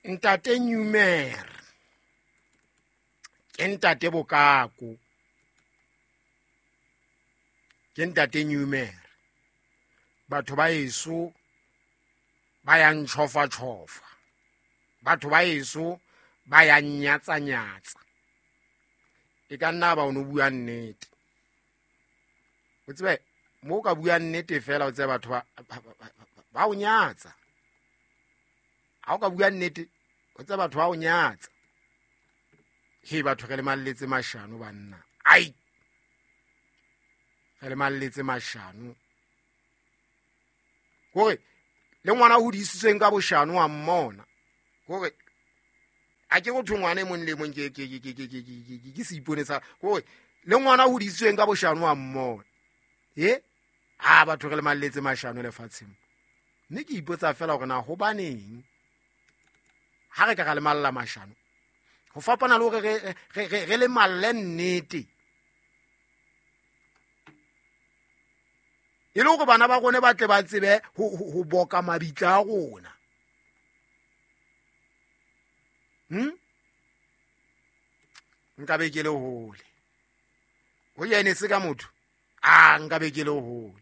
Ntate Newmer ke ntate Bokako, ke ntate Newmer. Batho ba eso ba ya ntšhofa-tšhofa, batho ba eso ba ya nnyatsa-nyatsa. E ka nna ba o no bua nnete, o tsebe mo o ka bua nnete fela, o tsebe batho ba o nyatsa. Ha o ka bua nnete, o tsebe batho ba o nyatsa. He, batho re le malletse mashano banna, ai re le malletse mashano. Kore le ngwana hodisitsweng ka boshano wa mmona, kore a ke go thwe ngwana e mong le mong ke seipone sa kore le ngwana hodisitsweng ka boshano wa mmona. E a batho re le malletse mashano lefatsheng. Mme ke ipotsa fela hore na hobaneng ha re ka ra lemalla mashano, ho fapana le hore re lemalle nnete, e le hore bana ba rona ba tle ba tsebe ho boka mabitla a rona. Nka be ke le hole ho yene se ka motho, a nka be ke le hole.